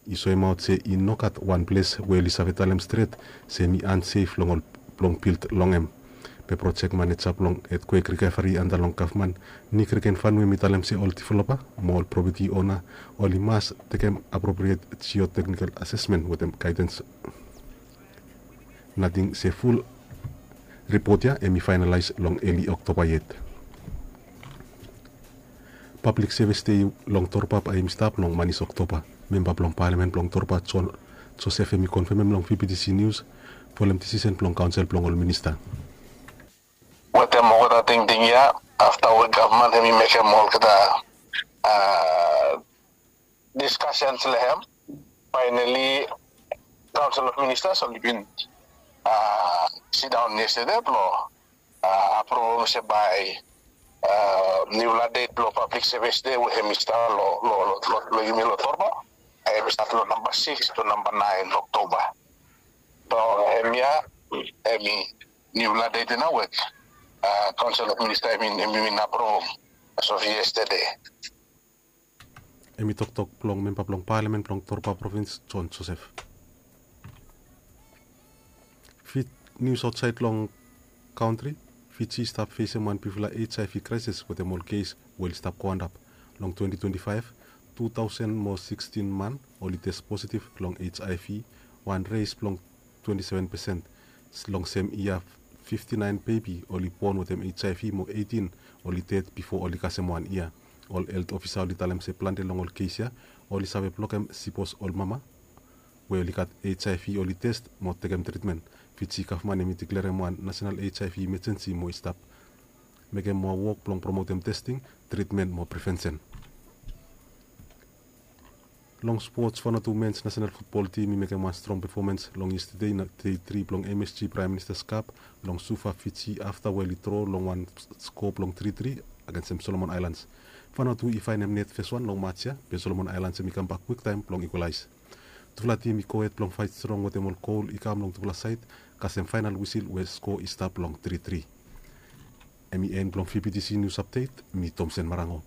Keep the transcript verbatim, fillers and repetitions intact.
i soemaot se i nogat wan ples we oli save talem stret se hem i ansef long ol blong bild long hem. Be projek maneja blong etkwek rikaveri anda long gavman, Nick Regenfanu, hem i talem se ol developa mo ol propeti ona oli mas tekem apropriet jioteknikel asesmen wetem gaedens. Nating se ful ripot ya hem i faenalaes long eli Oktoba yet. Pablik sevis dei long Torba bae hem i stap long manis Oktoba. Memba blong palamen blong Torba, John Joseph, hem i konfemem long V B T C News folem disisen blong kaonsel blong ol minista. Wetem olgeta tingting ya, afta we gavman hem i mekem olgeta diskasens long hem, faenali kaonsel of ministas oli bin sidaon yestede blong apruvum se bae niufala det blong pablik sevis dei we hem i stap long yumi long Torba, hem i stap long namba sikis to namba naen Oktoba. So hemia hem i niufala det ya nao we kaonsel of minista hem i bin apruvum as of yestede. Hem i toktok blong memba blong palamen blong Torba provins, John Joseph. Fit nius aotsaed long kantri. Fiji i stap fesem wan bigfala HIV kraesis wetem ol kes we oli stap go antap. Long twenti twenti faef, tu taosen mo sikstin man oli tes positiv long HIV, wan res blong twenti seven pesen. Long sem yia, fifti naen bebi oli bon wetem HIV mo eitin oli ded bifo oli kasem wan yia. Ol helt ofisa oli talem se plante long ol kes ya oli save blokem sipos ol mama we oli gat HIV oli tes mo tekem tritmen. Fiji gavman hem i diklerem wan nasenal HIV imajensi mo i stap mekem moa wok blong promotem testing, tritmen mo prevensen. Long spots, Vanuatu mens nasenal futbol tim i mekem wan strong pefomans long yestede, dei tri blong MSG Praem Ministas Kap, long Suva, Fiji, afta we oli dro long wan sko blong tri tri agensem Solomon Aelans. Vanuatu i faenem net fes wan long mats ya, be Solomon Aelans hem i kambak kwiktaem blong ikwalaes. Tufala tim i gohed blong faet strong wetem ol gol i kam long tufala saed, kasem faenal wisil we sko i stap long tri tri. Hem i en blong VBTC Nius Apdet. Mi Tomsen Marango.